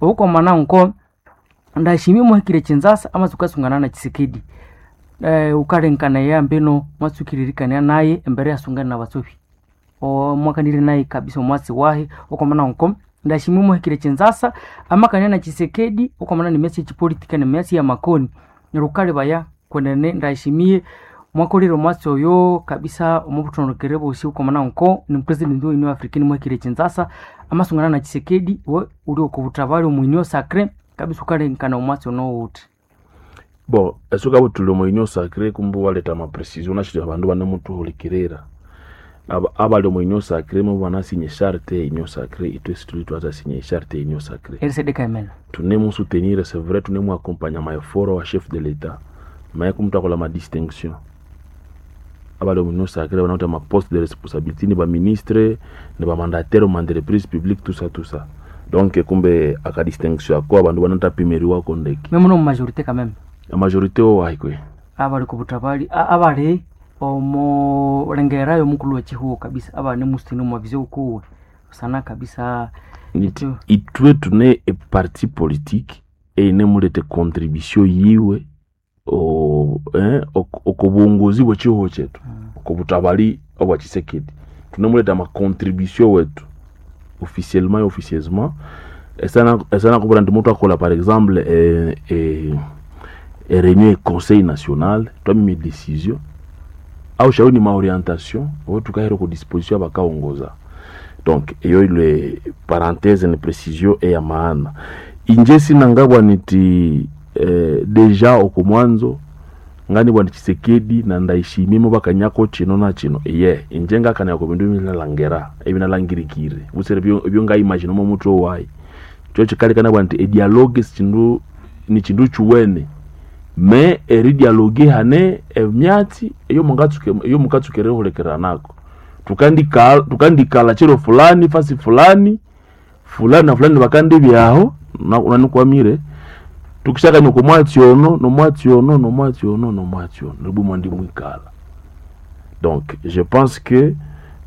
Okwamana nko Ndayishimiye muhikire Kinshasa amatsuka asungana na Tshisekedi. Ukalenkanaya mbino mwatsukiririkanaya naye embere yasungana na batsobi. Mwakanire naye kabisa omwatsi wahi okwamana nko Ndayishimiye muhikire Kinshasa amakania na Tshisekedi okwamana nemyatsi yechipolitika nemyatsi yamakoni. Neryo wukalebaya kwenene Ndayishimiye mwakolire omwatsi oyo kabisa omo buthondekere bosi okwamana nko ni president we Union Africaine muhikire Kinshasa amasungana na Tshisekedi iwe wuli oko buthabali omu Union Sacrée kabisa wukalengekana omwatsi ono wuthi. Bon, esuka buthuli omu Union Sacrée kumbe iwaletha ama precision wunashire abandu ibanemutuhulikirira. Abali omu Union Sacrée mubanasinya echarte ye Union Sacrée, ithwe sithuli thwathasinya echarte ye Union Sacrée. Erisedeka emene. Thunemusutenir c'est vrai, thunemuaccompagna ama effort wa chef de l'État, mais kumuthakolha ama distinction. Abali omu Union Sacrée banawithe ama poste de responsabilité ni baministre, ni bamandataire omu entreprise publique tout ça tout ça. Donc kumbe aka distinction ako abandu banathapimirwako ndeke. Mwe mune omu majorité quand même. A majorité owahi kwe? Abali oko buthabali abali omo lengera yomukulhu wekihugho kabisa abanemusiteni omwa vision kuwe busana kabisa. Niti ithwe thune eparti politique eyinemuletha econtribution yiwe oko buwongozi bwekihugho kyethu, oko buthabali obwa Tshisekedi. Thunemuletha ama contribution wethu officiellement et officieusement esanakubwira indi muthwakolha par exemple e réunion e conseil national, twamima edecision awushawe ni maorientation owo thukahira oko disposition abakawongoza. Donc eyo ilwe parenthèse ni précision eya maana. Inje sinangabwa niti deja oko mwanzo nganibwa indi Tshisekedi na Ndayishimiye mubakanyako kino na kino, iye inje ngakanaya oko bindu ebinalhangira ebinalhangirikire butsira ebyongaimagine omo muthwe wayi. Kyo kyikalekana nti edialogue sikindu nikindu kyuwene mais eridialogue hane emyatsi eyomukatsuka erihulikiranako. Thukandikalha kiro fulani fasi fulani, fulani na fulani bakandibyaho wunanikwamire, thukisakania oko mwatsi ono nomwatsi ono nomwatsi ono nomwatsi ono neryo ibwa imwandimwikalha. Donc je pense que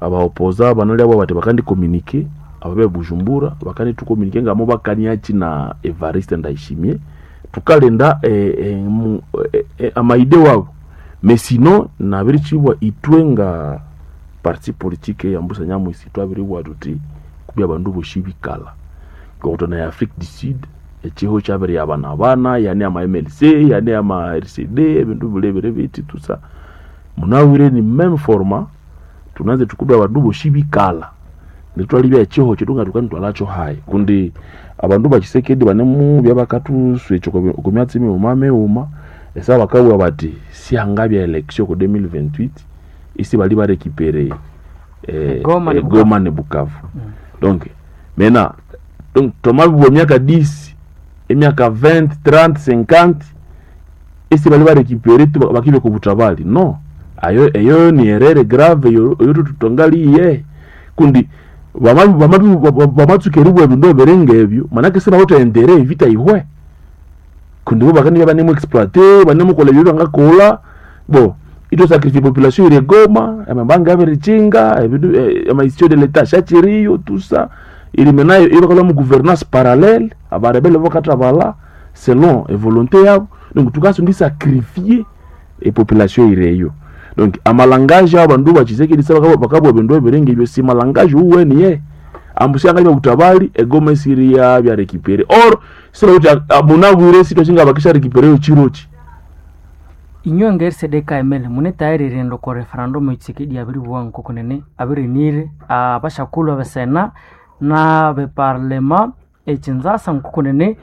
aba opposants banalyabowa bathi bakandi communiquer, ababe Bujumbura bakandithucommuniquer ngamubakaniakyi na Evariste Ndayishimiye, thukalinda amaidée wabu. Mais sinon nabirikyibwa ithwe nga parti politique eyambusa nyamwisi thwabiribugha thuthi kubya abandu bosi ibikalha. Ngokuthana e Afrique du Sud ekihugho kyabiriyabanabana ihane ama MLC, ihane ama RCD, ebindu bilebere bithi tout ça. Munabwire ni meme format, thunanzire thuthi kumbe abandu bosi ibikalha neryo ithwalebya ekihugho kyethu ngathukandithwalhakyo hayi kundi abandu ba Tshisekedi banemubya bakathuswekya oko myatsi mighuma mighuma esaha bakabugha bathi sihangabya election oko 2028 isibali barecupere Goma ne Goma ne Bukavu. Donc maintenant donc thwamabibugha emyaka 10, emyaka 20, 30, 50 isibali barecupere tu bakibya oko buthabali no. Ayo eyo ni erreur grave eyo thwangaliye kundi bamatsuka eribugha ebindu ebiri ngebyo manake sibawithe intérêt evita yihwe kundi bo bakandibya ibanemu exploiter, banemukolha ebyo bangakolha bon ithwasacrifier population eyiri e Goma, amabanga abirikyinga, ebindu ama institution de l'Etat syakyiriyo tout ça, iri maintenant ibakolha mu gouvernance parallèle, aba rebelles bakathabalha selon e volonté yabo, donc thukasonga isacrifier e population eyiri eyo. Donc amalangage awabandu ba Tshisekedi bakabugha ebindu ebiringebyo si malangage wuwene ye ambu syangabya buthabali e Goma isiriyabya récupérée or sibawithe munabwire sithwasyinga bakisya récupérer yo kyirokyi. Inywe nga RCD KML mune tayari erighenda oko referendum eyo Tshisekedi abiribugha ngokunene abirinire abashakulhu abesena nabe parlement e Kinshasa ngokunene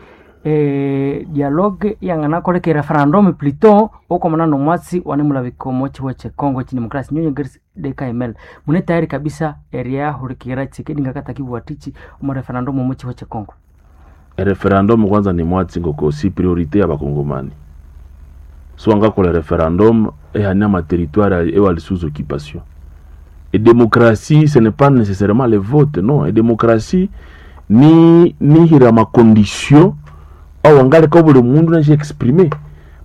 dialogue iyanganakoleka e referendum plutôt okwamana nomwatsi wanemulabika omo kihugho kye Congo ekyidemokrasia. Inywe nga RCD KML mune tayari kabisa eriyahulikirira Tshisekedi ngakatakibugha athiki omo referendum omo kihugho kye Congo? E referendum kwanza ni mwatsi ngoko si priorité yabakongomani. Siwangakolha referendum ihane ama territoire ewali sous occupation. E démocratie ce n'est pas nécessairement le vote non, e démocratie ni nihira ama condition awangaleka obuli mundu inasya exprimer.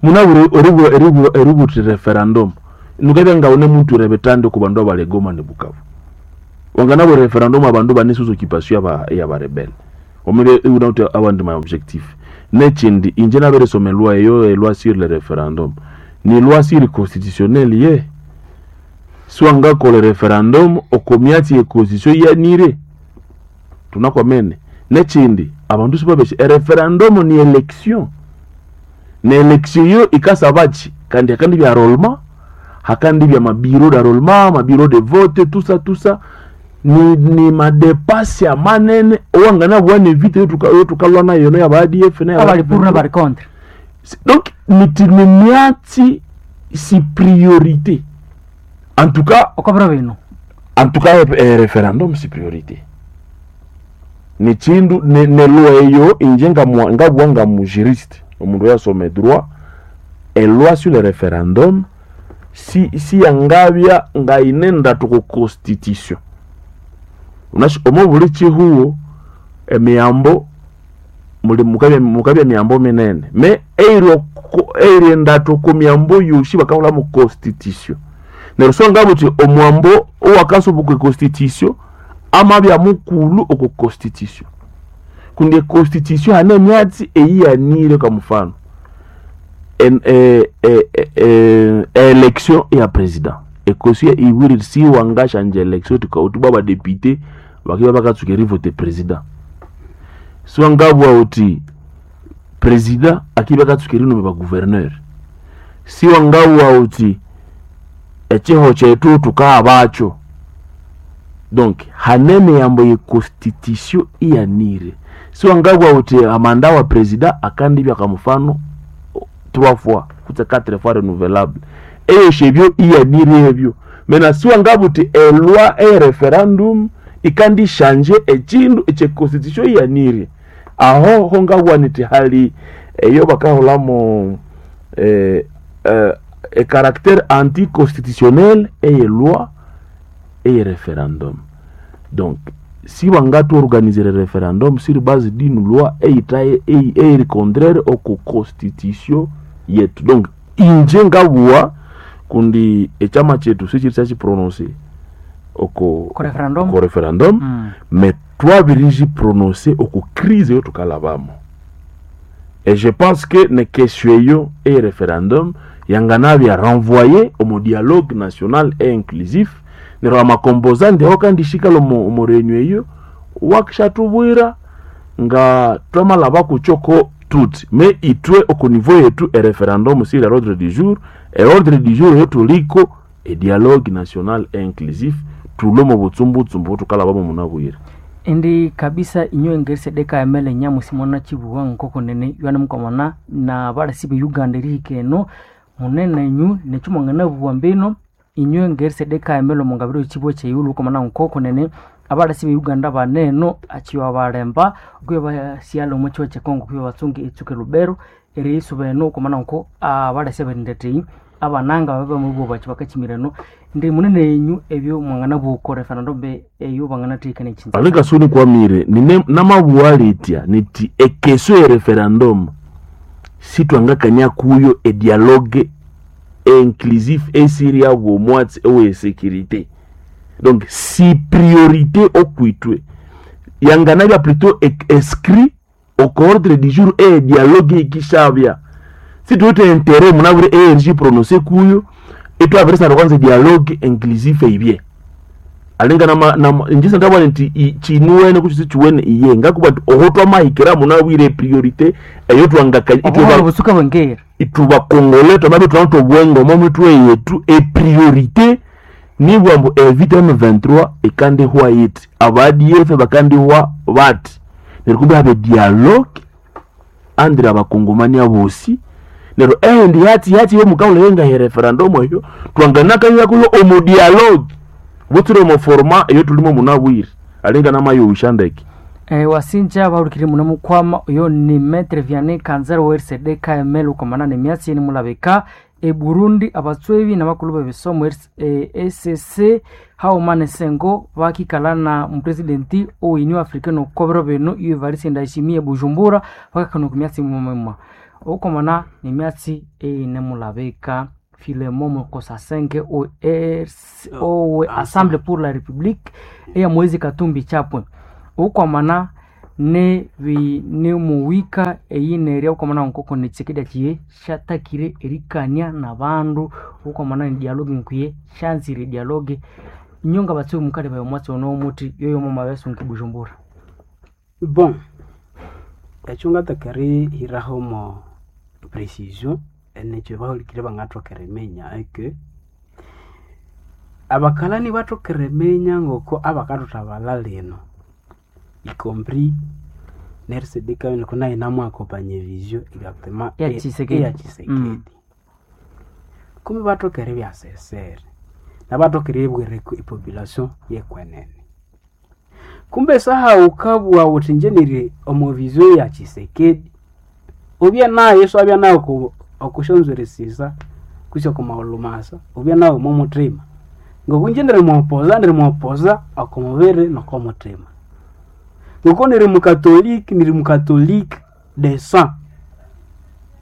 Munabwire eribugha wuthi referendum nukabya ngawunemuthwira ebithandi oko bandu abali e Goma ne Bukavu. Wanganabugha referendum abandu ibane sous occupation eyaba rebelles. Wamabya iwunawithe awandi ma objectif. Nekindi inje nabirisoma eloi eyo, eloi sur le referendum, ni loi sur constitutionnelle ye siwangakolha referendum oko myatsi ye constitution yanire tunakwamene. Nekindi abandu sibabesya ereferendum ni election, ne election yo ikasabaki kandi hakandibya enrolement, hakandibya mabureau d'enrolement, mabureau de vote, tout ça tout ça ni madepasi amanene owanganabugha nevita eyotukalwa nayo eno yaba ADF neyaba Abali pour n'abali contre. Donc niti ni myatsi si priorité en tout cas. Okobiro bino. En tout cas référendum si priorité ni chindu ne loi eyo inje ngabugha nga mujuriste, omundu oyasoma droit, eloi sur le référendum si yangabya ngayine ndatu ku constitution. Unashi omo buli chihuo emiyambo muli mukabya miyambo minene me eiri endatu ku miyambo yosi bakahula mu constitution. Neryo so ngabuthi omwambo owakasuba oku constitution amabya mukulu oku constitution, kundi econstitution hane emyatsi eyiyanire. Kwa mfano election ya president, econstitution ibwire siwangashanja election tuka badepute bakiba bakatsuka erivote president. Siwangabugha uthi president akiba akatsuka erinome bagouverneur. Siwangabugha uthi ekiho kyethu tukahabakyo. Donc hane emiyambo ye constitution iyanire. Siwangabugha uthi amanda wa president akandibya kwa mfano trois fois kutse quatre fois renouvelable, eyosho ebyo iyanire ebyo. Mena siwangabugha uthi eloi eye referendum ikandishanje ekindu ekye constitution iyanire. Aho ho ngabugha niti hali eyo bakahulamo ecaractère anticonstitutionnel eye loi eye referendum. Donc si bangatuorganiser referendum sur base d'une loi eyitaye eyiri contraire oku constitution yetu. Donc inje ngabugha kundi ekyama kyethu sikiri kyakiprononcer oko Ko referendum. Ko referendum. Mais twabirigiprononcé oku crise eyo tukalabamo, et je pense que ne question eyo eye referendum yanganabya renvoyé omu dialogue national et inclusif. Neryo amacomposante aho kandishikala omu réunion eyo wakishatubwira nga twamalaba kukyoko tuti me itwe oku niveau yetu ereferendum siri l'ordre du jour. Eordre du jour eyo tuliko edialogue national et inclusif, tulwe mu butsumbutshumbu tukalabamo munabwire. Indi kabisa inyo engeri emele nyamusi mwana chibuwa nkoko nene ywana mukomana na balasi be Uganda erihika eno munene nyu nekyumwangana buwa mbino inyo engeri sedeka emele omungabiro chibuwa kyeyulu ukomana nkoko nene abalasi be Uganda baneno achiwa balemba okwiba basyala omu chiwa kyekongo kwiba batsunga etsuke Lubero eriyisuba eno ukomana nko abalasi abarindateyi abananga babe bamubuwa bachi bakachimirano ndi munene enyu ebyo mwangana buko referendum eyo banganathikana echinza. Alinga suni kwamire nine namabuwa litya niti ekesio ya referendum sitwangakania kuyo edialogue inclusif esiri yabwo omwatsi owe sécurité. Donc si priorité okwitwe yanganabya plutôt inscrit au ordre du jour e dialogue ikishabya, situwite intérêt munabure erg prononcé kuyo itwabirisana kwanza dialogue inclusif eibye. Alinga nama njisa ndabona nti chinuwene kuchisi chiwene iye ngakuba nti oho twamahikira munabwire priorité eyo twangakanya obuhoro busuka bwengera. Itubakongole twamabe twawuthe obwengo omo mitwe yetu epriorité nibwa mbu evita M23 ikandihwa yiti, aba ADF bakandihwa bati, neryo kumbe habe dialogue andre abakongomani abosi. Neryo endi yati yati yo mukawula yenga he referendum eyo twanganakanya kuyo omu dialogue butsire omu forma eyo tulimo munabwire alinga namayowusha ndeke. Wasinja bahurikire muno mukwama oyo ni Maître Vianney Kanzara wa RCD KML ukomana nemyatsi yeni mulabika e Burundi abatswebi n'abakulu b'ebisomo ECC haumane sengo bakikala na mupresidenti owe Africaine okobero bino iyo Evariste Ndayishimiye Bujumbura bakakana ku myatsi mumema ukomana nemyatsi eyine mulabika Philemon Mukosasenge o owe Assemblée pour la République eya Moise Katumbi Chapwe ukwamana. Nebinemuwika eyinerya ukwamana nkoko ne Tshisekedi akiye syatakire erikania n'abandu ukwamana ne dialogue nkuye syanzire dialogue. Inyo ngabatsubi mukalebaya omwatsi ono omuthi yoyo mwamabesunga eBujumbura. Bon, ekyo ngataka erihiraho mo precision nekyo bahulikirire bangathoka eriminya eke abakalani bathoka eriminya ngoko abakathuthabalha lino, y compris ne RCD Kabila nayo inamuaccompagna evision exactement Ya Tshisekedi. eya Tshisekedi. Kumbe bathoka eribya sincere nabathoka eribwira epopulation yekwenene. Kumbe esaha wukabugha wuthi ingye niri omo vision ya Tshisekedi, ubye nayo iswabya nayo oku syonzwiri sisa kwisi oku maghulhu masa, ubye nayo omo muthima. Ngoku ingye nirimuopoza nirimuopoza oko mubiri noko muthima. Ngoko niri mukatoliki niri mukatoliki de sang.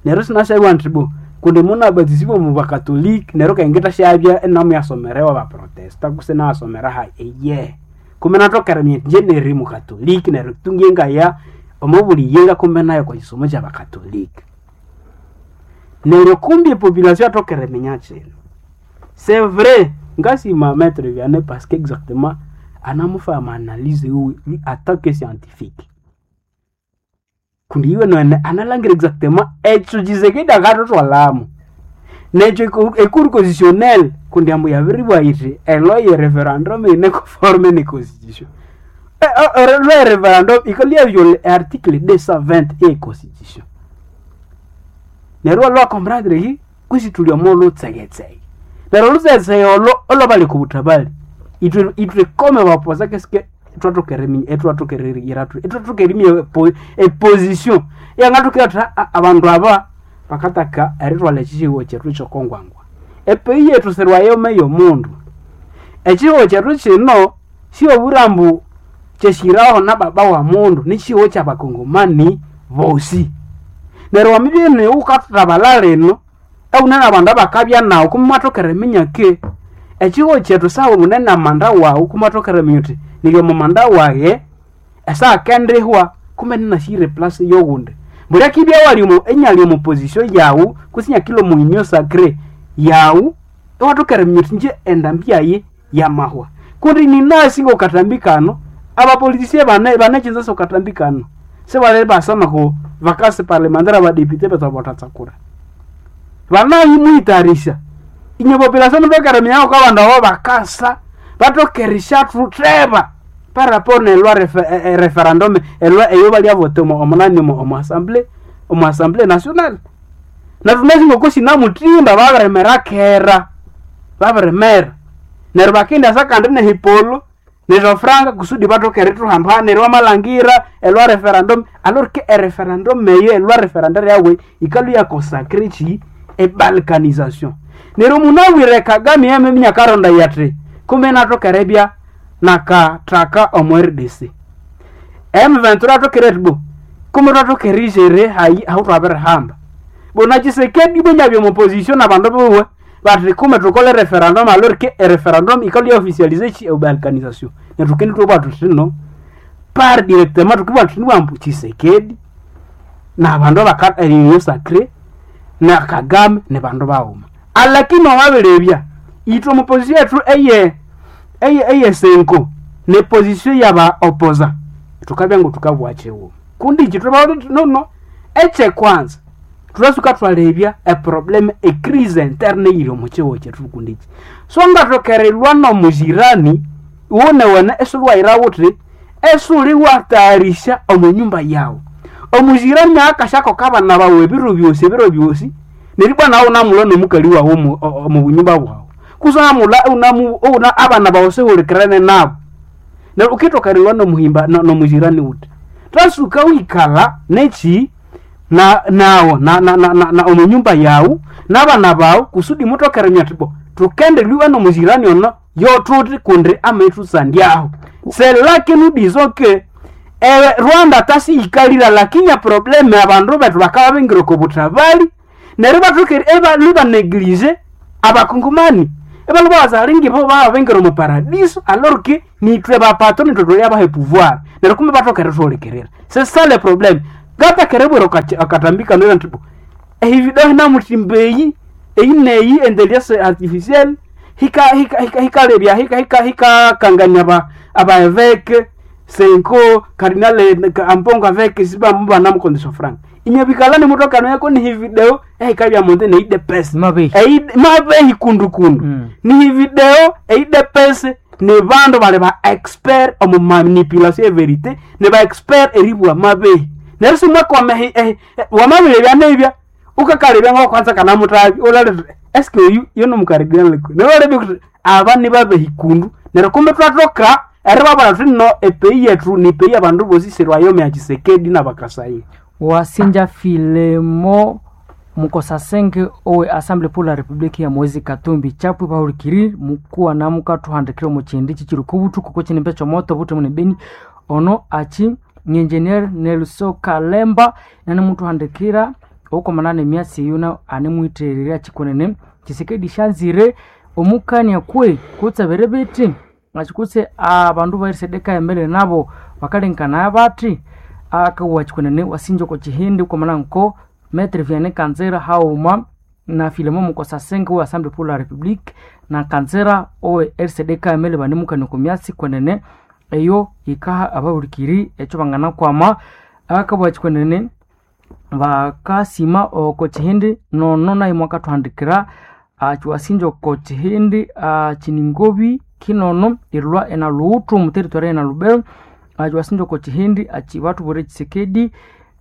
Neryo isinasyabugha indi bo kundi munabatisibwa omu bakatoliki neryo kandi ngithasyabya inamuyasomerewa abaprotesta kutse inayasomera hayi eyehe. Kumbe inathoka eriminya indi ingye niri mukatoliki neryo tu ngiye ngaya omo buli yenga kumbe nayo okwa kisomo kyabakatoliki. Neryo kumbi epopulation yathoka eriminya kino. C'est vrai ngasima Maitre Vianney parce que exactement anamufa ama analyse wiwe lui en tant que scientifique. Kundi iwe nowene analangira exactement ekyo Tshisekedi akathuthwalhamu. Nekyo ecour constitutionnelle kundi ambu yabiribugha yithi eloi ye referendum yine conforme ne constitution. Eloi ye referendum yikalhwa iyaviola article 220 eye constitution. Neryo iwalhwa comprendre ki kwisi thuli omo lutsegetsege. Neryo olutsegetsege olho olwabali oko buthabali ithwe ithwe kome bapoza keske ithwathoka eriminya ithwathoka eriyira thuthi ithwathoka eriminya eposition iyangathoka athi abandu aba bakataka erithwalha ekyihugho kyethu kyokongwangwa. Epeyi yethu sirwayoma eyomundu. Ekyihugho kyethu kino siyobwira ambu kyesyiraho na baba wa mundu, nikyihugho kyabakongomani bosi. Neryo wamibya inu wukathathabalha lino ewune nabandu abakabya nawu kumbe imwathoka eriminya ki ekyihugho kyethu saha wune namanda wawu kumbe iwathoka eriminya wuthi niri omo manda wayi esaha akendihwa kumbe ininasyire eplace yowundi. Mbuli akibya iwali omo inyali omo position yawu kutse inyakilha omo union sacrée yawu iwathoka eriminya wuthi ingye endambi yayi yamahwa. Kundi ninasi ngokatambi kano abapoliticien bane banekyinza syokatambi kano sibali basa noku vacance parlementaire abadepute bethu. Banayimuyitharisya inye population muthoke eriminya ngoko abandu abo bakasa bathoke erisyathuteba par rapport neloi referendum eloi eyo balyavota omunani omo assembly omo assembly nationale. Nethu thunasi ngoko sinamuthimba babirimera kera babirimera. Neryo bakendasa kandi nehipolo nesyofranga kusudi bathoke erithuhamba neryo wamalhangira eloi referendum alors que ereferendum eyo eloi referendaire yawe yikalhwa iyaconsacre kyi ebalkanisation. Neryo munabwire Kagame yameminya akarondaya athi kumbe inathoka eribya nakathaka omo RDC. M23 athoke athi bo kumbe thwathoka erigere hayi ahuthwabirihamba. Bo na Tshisekedi ibwa inabya omo position nabandu biwe bathi kumbe thukole referendum alors que ereferendum yikalhwa iyaofficialize kyi ebalkanisation. Neryo thukendithwabugha thuthi no par directement thukibugha thuthi ambu Tshisekedi nabandu abaka union sacrée na Kagame nibandu baghuma. Alakini wamabirebya ithwe omo position yethu eye eye CENCO ne position yaba opposa thukabya ngothukabugha kyighuma. Kundi ikyi thwababwira thuthi nono ekyekwanza thwasuka thwalebya eproblem ecrise interne eyiri omo kyihugho kyethu kundi ikyi. So ngathoka erilwa nomujirani iwunewene isiwayira wuthi esuli watagharisya omo nyumba yawu. Omujirani akasyakoka abana bawu ebiro byosi ebiro byosi neryo ibwa nawu wunamulwa nomukali wawu omo omo bunyumba bwawu. Kutse wamulwa iwunamu iwuna abana bawu sihulikirene nabu. Neryo wukithoka erilwa nomuhimba nomujirani wuthi. Thwasuka wikalha nekyi na nawu na na omo nyumba yawu nabana bawu kusudi muthoke eriminya muthi bo thukendelwa nomujirani ono yothuthi kundi amaghithusandyaho. C'est là que nous disons que Rwanda tasiyikalira lakini eproblem abandu bethu bakabya bingira oko buthabali neryo ibathoka ibaneglige abakongomani. Ebalo bazalingi bo babengira mu paradiso alors que nitwe bapatro nitwe tuli abahe pouvoir. Neryo kumbe batokere thuhulikirira. C'est ça le problème. Ngata kerebwera akatambika nera nti ehividahi namutimbeyi eyi neyi intelligence artificielle hika hika hika hikalebya hika hika hikakangania aba abaeveke senko cardinal ampongo aveke siba mubana franc inyabikala mutokano yako ni hivideo ehikabya monde neidepesa Mabehi. mabehi kundukundu ni hivideo eidepese ni bandu bali ba expert omu manipulation e verité, ni ba expert eribwa mabehi. Neryo simwakwama wamabirebya nebya ukakalebya ngokwanza kana mutabi ulale eske oyu yono mukaridinal neryo kuti aba ni babehi kundu. Neryo kumbe twatoka eribabara thuti no epeyi yetu ni peyi abandu bosi sirwayome ya Tshisekedi nabakasai. Wasinja Filemo Mukosasenge owe Assemblée pour la République ya Moise Katumbi chapwe bahulikiri mukuwa namuka 200 mu chindi chichiri kubutu kuko chinimbe chomoto butu mune beni ono achi ni engineer Nelson Kalemba nane mutu handikira okomana nemyasi yuna anemwiterera chikonene Tshisekedi shanzire omukania kwe kutsabere biti achikutse abandu bairisedeka emele nabo bakalenkana bati akawa chikonene wasinja ko chihindi ukomana nko Maître Vianney Kanzera hauma na Filemo Mukosasenge we Assemblée pour la République na Kanzera owe RCD KML banemukania ku myasi kwenene eyo ikaha abahulikiri ekyo bangana kwama akabwa chikwenene bakasima oko chihindi nono naye mwakathuhandikira achiwasinja oko chihindi chiningobi kinono irilwa ena luuthu mu territory ena lubero achiwasinja oko chihindi achi bathubwire Tshisekedi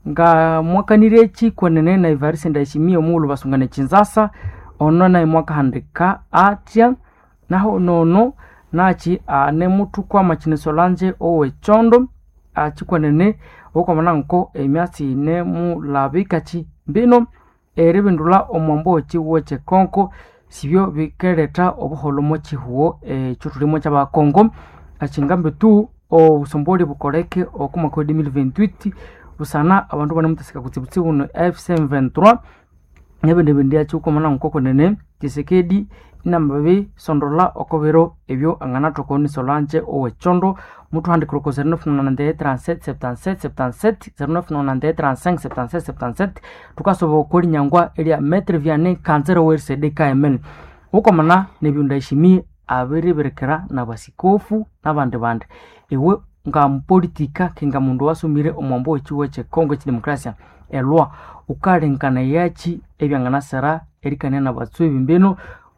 nga mwakanire echi kwenene na Evariste Ndayishimiye omughulhu basungana Kinshasa ono naye mwakahandika atya naho nono nachi anemuthu kwama chine Solange owechondo achikwenene okwamana nko emyatsi ine mulabikachi mbino eribindulha omwambo wechihuo chekonko sibyo bikeletha obuholho mo chihuo ekyo thulimo kyabakongo achingambi tu obusomboli bukoleke oku mwaka wa 2028 busana abandu banemuthasika kutsibutsibu no AFC/M23 nebindi bindi achiukomana nko kwenene Tshisekedi inamabisondola oko biro ebyo anganathoka ni Solange owechondo muthuhandikira oko 0991 37 77 77 0991 35 77 77 thukasoba okolinyangwa erya Maître Vianney Kanzera owe RCD KML ukomana nebyo Ndayishimiye abiribirikira nabasikofu nabandi bandi iwe nga mupolitika kinga mundu wasomire omwambo wechiwo chekongo chidemokrasia elwa ukalenkana yachi ebyanganasira erikania nabatswebi mbino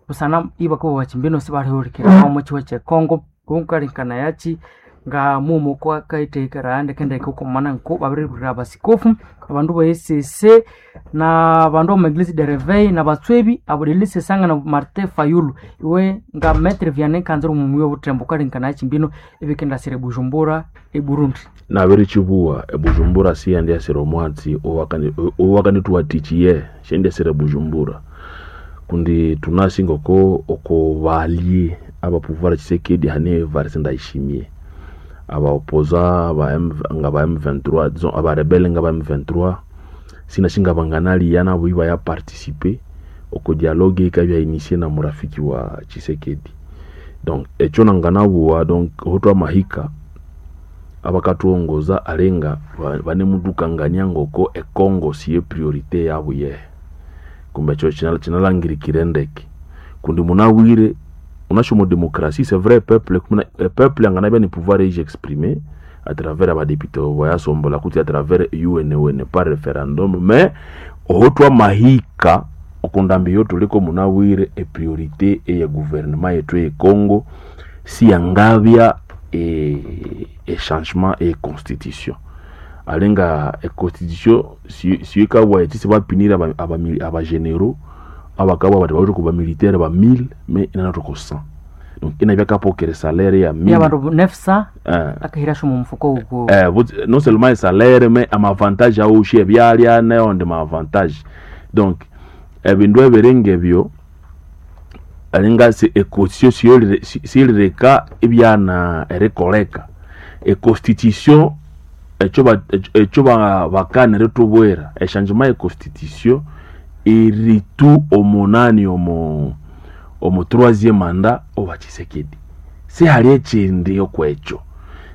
busana ibakabo bachimbino sibalihulikira omo chiwo chekongo ukalenkana yachi nga mumo kwakaithekera ndekendeke ukomana nko babiribirira abasikofu abandu ba ECC na bandu ba Eglise de Reveil na batswebi abo lilisesanga na Martin Fayulu iwe nga Maître Vianney Kanzira omumuyi obuthembo ukalenkana yachi mbino ebikendasira eBujumbura eBurundi. Nabirichibuwa ebujumbura siyandyasira omwatsi owakanithuwathikiye shendyasira ebujumbura kundi tunasi ngoko oko balye aba pouvoir Tshisekedi hane Evariste Ndayishimiye abaopoza aba nga ba M23 disons aba rebelle nga ba M23 sinashinga banganaliya nabo iba ya participer oko dialogue ikabya initié na murafiki wa Tshisekedi. Donc ekyo nanganabuwa donc hotwa mahika abakathuongoza alenga banemudukangania ngoko ekongo siye priorité yabo yehe kumbe ekyo kinalangirikire ndeke kundi munabwire unashomo démocratie c'est vrai peuple kumuna peuple anganabya ni pouvoir eji exprimer à travers abadepute bayasombola kuti à travers UN par référendum mais ohotwa mahika okundambi yo tuliko munabwire epriorité eye gouvernement yetu ye Congo siyangabya e changement e constitution alenga e constitution siyikabwa eti sibapunir aba généraux abakabwa bati bawithe ku bamilitaire ba 1000 mais inanatoko 100 donc inabya kapokere salaire ya 1000 yabandu 900 akahira shomo mufuko uko non seulement e salaire mais amavantage awushi ebyalya neonde maavantage donc ebindu ebiringa ebyo alinga econstitution siyilireka ebyana erikoleka econstitution ekyo bakana eritubwira echangement ye constitution iritu omunani omo Omu troisième mandat owa Tshisekedi sihali ekindi okwekyo.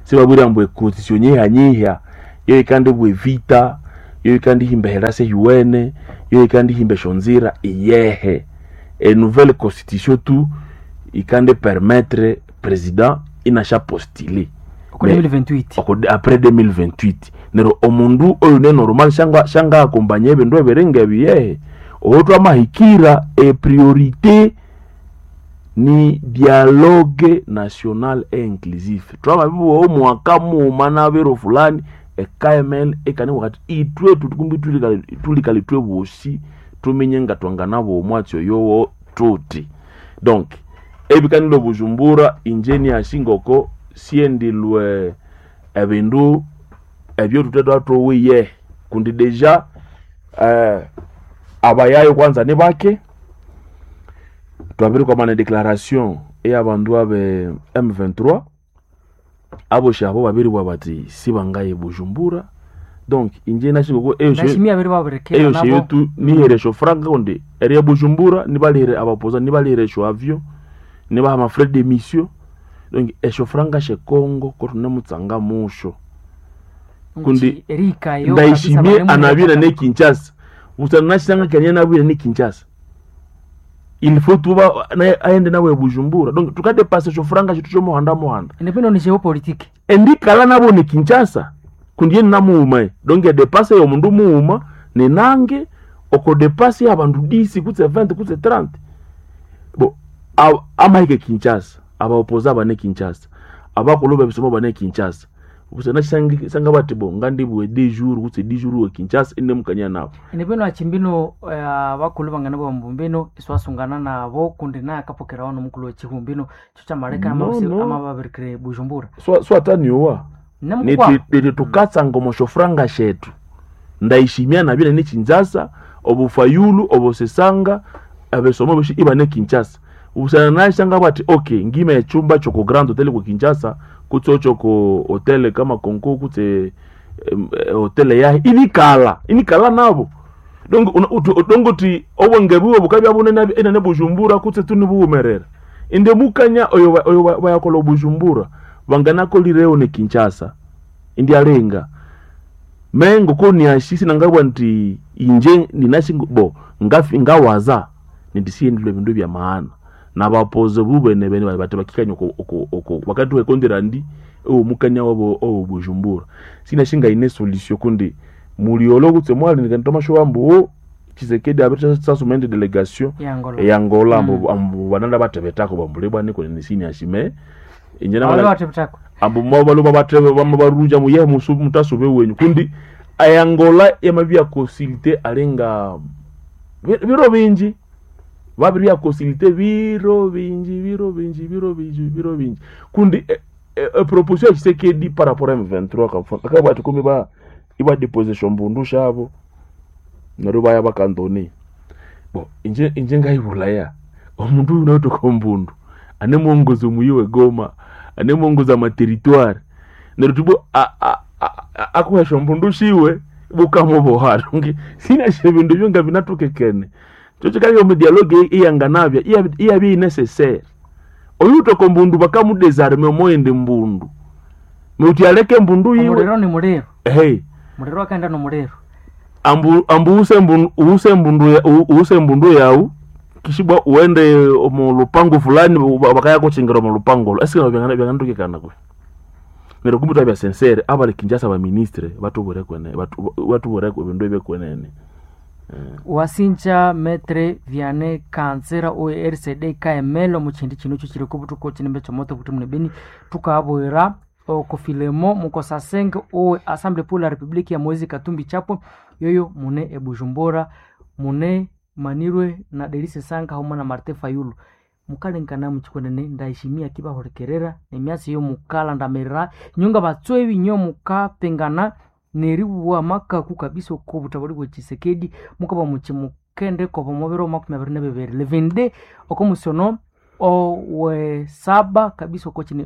Sibabwira mbu econstitution nyihanyiha yo ikandi bwe vita, yo ikandi himba herase yuwene, yo ikandi himba eshonzira iyehe. E nouvelle constitution tu ikandi permettre président inasha postuler Oko 2028. Oko après 2028 nero omundu oyu ne normal shanga shanga akombanya ebindu ebiringa ebiyehe owo twamahikira e priorité ni dialogue national et inclusif. Twamabibuwa omwaka muuma nabiro fulani e KML ekani wakati itwe tukumbi tulikali twe bosi tumenye nga twanganabo omwatsi oyowo tuti. Donc ebikanilo Bujumbura inje ashingoko siendilwe ebindu ebyo tuthe twathowiye kundi deja abayayo kwanza ni bake twabirikwamana declaration eyabandu abe M23 aboshi abo babiribwa bati sibangaye Bujumbura. Donc inje nashingoko eyo Ndashimia abiri babirekera eyo nabo. sheyetu nihere esyo franga kundi eriya Bujumbura nibalire abapoza nibalire esyo avion nibaha ama frais de mission. Donc esyo franga she Congo ko tunemutsanga musho kundi erika yo ndayishimiye anabira ne Kinshasa usana nashanga kenya nabira ne Kinshasa il faut tuba naye aende nawe Bujumbura. Donc tukadepasa esyo franga shetu kyomuhanda muhanda Ndipino ni geopolitique. endikala nabo ni Kinshasa kundi ye namuuma donc edepase yomundu muuma ninange oko depase yabandu 10 kutse 20 kutse 30 bo amahike Kinshasa abaopoza bane Kinshasa abakulu bebisomo bane Kinshasa busana sanga bati bo ngandibwe 10 jours kutse 10 jours we Kinshasa ine mukanya nabo. Ndipino achimbino bakulu bangana bambumbino iswasungana nabo kundi naye akapokerawo nomukulu wechihumbino cho chamaleka No, no. amababirikire Bujumbura. Swataniwa Nemukwa niti tukatsanga omosho franga shetu ndayishimia nabire ni Kinshasa obufayulu obosesanga abesomo boshi iba ne Kinshasa ubusana nashanga bati okay ngime echumba choko Grand Hotel ku Kinshasa kutse choko hotel kama Konko kutse hotel yahe inikala inikala nabo. Donc dongo ti obwenge buwe bukabya bunene enene Bujumbura kutse tunibuhumerera inde mukanya oyo oyo bayakola Bujumbura banganakolireyo ne Kinshasa indi alenga mengo ko niashisi nangabwa nti inje ninasi bo ngafi ngawaza nindisiyendilwe bindu bya maana nabapoze bubene bene bati bakikanya oko oko oko wakati wekondera ndi owo mukanya wabo owo Bujumbura sinashinga ine solution kundi muliolo kutse mwali nikantoma wambu o Tshisekedi abeta sasumende delegation ya Angola. ya Angola ambu ambu bananda batebetako bambulebwa niko nisini ashime inje Abali namala batebetako. ambu mwabaluba batebe bamwe baruja muye musu mutasube wenyu kundi ayangola yamabya consulter alenga biro bingi babiri bya consulter biro bingi biro bingi biro bingi biro bingi kundi e proposition ya Tshisekedi par rapport à M23 kamfa akaba ati kumbe ba iba deposition mbundu shabo naro baya bakandoni bo inje inje ngayibulaya omundu uyu nautoka mbundu ane mwongozi muyi Goma ane mwongozi ama territoire neryo tubo akuhesha mbundu shiwe bukamuboha ngi sina bindu byo nga binatukekene chocho kali omu dialogue iyanganabya iyabi necessaire oyu utoko mbundu bakamudesarme omoende mbundu nuti aleke mbundu yiwe Omuliro ni muliro. hey Muliro akaenda no muliro. ambu ambu use mbundu use mbundu use mbundu yau kishibwa uende omu lupango fulani bakaya kuchingira omu lupango lo esike byangantukekana kwe neryo kumbi twabya sincere abali Kinshasa ba ministre batubure kwene batubure ebindu ebyekwenene. Wasinja Metre Vianney Kanzera owe RCD KML omuchindi chino icho chiri kubutuka chinembe chomoto kuti mune beni tukabwera okofilemo mukosasenge owe Assemblée pour la République ya Moise Katumbi Chapwe yoyo mune ebujumbura mune manirwe na Delise Sanga hamwe na Martin Fayulu mukalenkana muchikwenene ndayishimiya kibahurekerera nemyasi yo mukalandamirira nyonga batswebi nyo mukapengana neribuwa makaku kabisa okubutabuli bwe Tshisekedi mukaba muchi mukende kobo mubiro 22 levende okomusono owe saba kabisa oko chine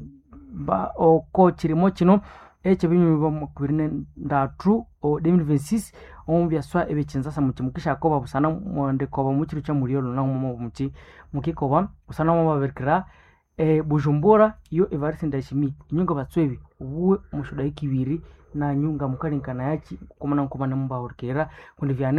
ba oko chirimo chino eche binyuba 23 o 2026. Omu byaswa ebyekinzasa muki mukishakoba busana mwandikoba mukiro kya mulyolo nahu mwa muki mukikoba busana mwamabirikira Bujumbura yo Evariste Ndayishimiye inyu ngabatswebi obuwe omusyodaika ibiri nanyu ngamukalengekana yaki ngoko munamukomana mubahurikirira kundi vyane.